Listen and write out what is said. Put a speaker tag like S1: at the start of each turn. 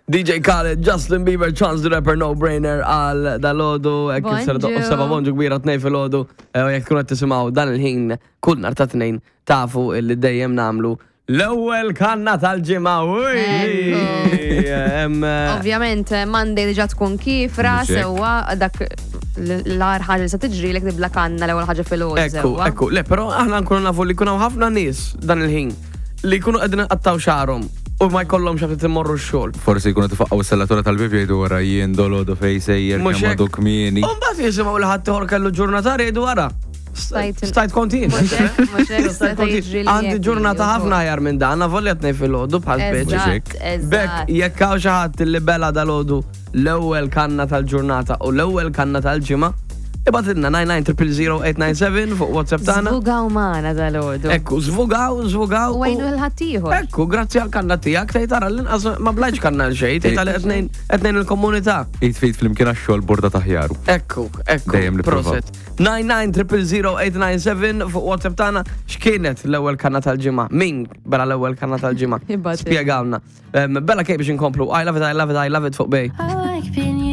S1: DJ Khaled, Justin Bieber, Chance the Rapper, No Brainer għal dal-ħodu, kif ser doqqu seba bonġu kbira tnej fil-ħodu, eh, u jek tkun qed tisimgħu dan il-ħin kull nar ta' tnejn tafu li dejjem namlu l-ewwel kanna tal-ġimgħa.
S2: Eh, Ovvjament, Monday diġà tkun kifra, sewwa dak l-ar ħaġa li se tiġri lek tibla kanna l-ewwel ħaġa fil-ħodu.
S1: Ekku, ekku, le, però aħna nkunu nafu li jkun hawn ħafna nies dan il-ħin li jkunu qegħdin iqattgħu xagħarhom u ma jkollhomx għax qed imorru x-xogħol.
S3: Forsi jkunu tifaqqgħu s-sellatura tal-bieb jgħidu wara jien dolodu fejn sejjer
S1: Mhux
S3: kemm
S1: hekk.
S3: għadu kmieni.
S1: U mbagħad jisimgħu li ħadd ieħor kellu ġurnata jgħidu wara.
S2: Stajt-
S1: Stajt kont jien.
S2: Mhux hekk, mhux hekk,
S1: Stajt
S2: seta'
S1: kont jien.
S2: jiġri li
S1: Għandi
S2: hekk
S1: ġurnata
S2: li
S1: ħafna aħjar minn dan, avolja tnej filgħodu bħal speċi.
S2: Eżatt,
S1: Bekk
S2: eżatt.
S1: jekk hawn xi ħadd li bela dalodu l-ewwel kanna tal-ġurnata u l-ewwel kanna tal-ġimgħa, ibgħatilna 99000897 fuq WhatsApp tagħna.
S2: Żvugaw magħna dal-għodu.
S1: Ekku, żvugaw, żvugaw.
S2: U għajnu l-ħaddieħor.
S1: Ekku, grazzi għal kanna tiegħek tgħid tara l-inqas ma blajx kanna l xejn, tgħid għal qed ngħin il-komunità.
S3: Id fit flimkien għax-xogħol borda taħjaru.
S1: Ekku, ekku.
S3: Dejjem nipprova.
S1: Proset. 99000897 fuq WhatsApp tagħna x'kienet l-ewwel kanna tal-ġimgħa? Min bela l-ewwel kanna tal-ġimgħa?
S2: Ibgħatilna.
S1: Spjegawna. Bella kej biex inkomplu. I love it, I love it, I love it fuq bej.
S4: I like being